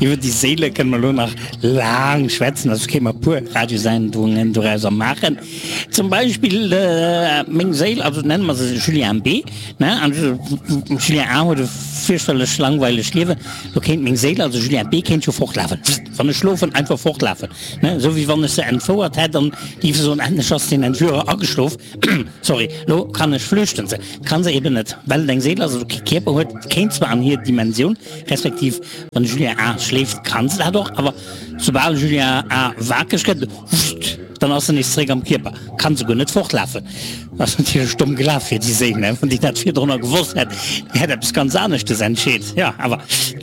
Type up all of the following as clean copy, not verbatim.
Iwwer déi Séile kënne mer elo nach laang schwätzen, also kéime mer e puer Radiosendungen dorauser maachen. Zum Beispill meng Séil, also nenne mer se Julien B. Ne, an Julien A huet e fierchterlech langweilegt Liewen, do kéint meng Séil, also Julien B, kéint jo fortlafen, wann ech schlofen, einfach fortlafen, ne, esou wéi wann ech se entfouert hätt an géif se soen, endlech ass den Entführer ageschlof, sorry, lo kann ech flüchten. Se kann se eben net, well et eng Séil ass, also kee Kierper huet, kéint zwar an hir Dimensioun, respektiv wann de Julien A schléift, kann se dat och, awer soubal Julien A wakereg gëtt, wuscht, dann ass se nees zeréck am Kierper, kann souguer net fortlafen. Ass natierlech domm gelaf fir déi Séil, ne? Wann déi dat virdrunner gewosst hätt, déi hätt eppes ganz aneschtes entscheet. Jo, awer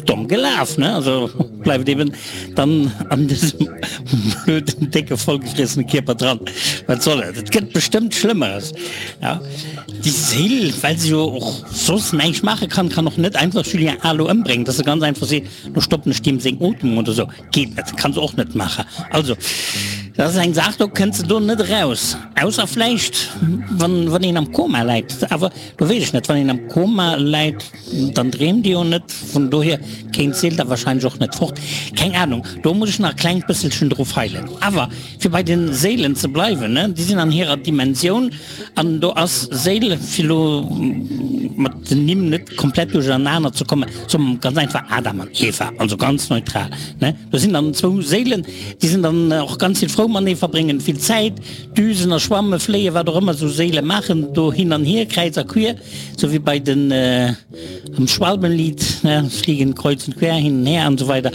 domm gelaf, ne? Also bleift eben dann an dësem blöden, décke, vollgefriessene Kierper dran. Wat soll et? Et gëtt bestëmmt Schlëmmeres. Ja, déi Séil, well se jo och soss näischt maache kann, kann och net einfach Julien A lo ëmbréngen, dass se ganz einfach seet, lo stoppen ech deem seng Ootmung oder sou. Geet net, kann se och net maachen. Also, dat ass eng Saach, do kënnt se do net eraus. Ausser vläicht, wann, wann een am Koma läit. Awer do weess ech net, wann een am Koma läit, dann dreemt ee jo net. Vun dohier kéint d'Seele da wahrscheinlech och net fort. Keng Ahnung, do muss ech nach e klengt bësselchen dru feilen. Awer fir bei de Séilen ze bleiwen, ne, déi sinn an hirer Dimensioun an do ass Séil, fir elo mat den Nimm net komplett duerchernaner ze kommen, soe mer ganz einfach Adam an Eva, also ganz neutral, ne. Do sinn dann zwou Séilen, déi sinn dann och ganz vill frou matenee, verbréngen vill Zäit, düsen a schwamme, fléien, wat och ëmmer esou Séile maachen, do hin an hier, kräiz a quier, sou wéi bei den. Am Schwalbenlied, ne, fliegen kreuz und quer, hin und her an esou weider.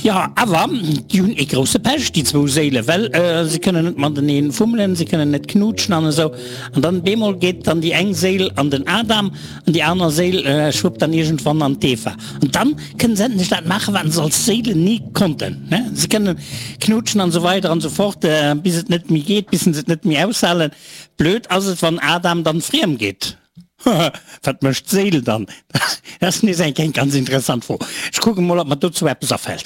Jo, awer déi hunn ee grousse Pech, déi zwou Séilen, well se kënnen net matenee fummelen, se kënnen net knutschen an esou. An dann bemol geet dann déi eng Séil an den Adam an déi aner Séil schwuppt dann iergendwann an d'Eva. An dann kënnen se endlech dat maachen, wat se als Séilen ni konnten, ne, se kënnen knutschen an esou weider an esou fort, bis et net méi geet, bis se et net méi aushalen. Blöd ass et, wann Adam dann friem geet. Wat mécht d'Séil dann? Dat ass nees eng ganz interessant Fro. Ech kucke mol, ob mer dozou eppes afält.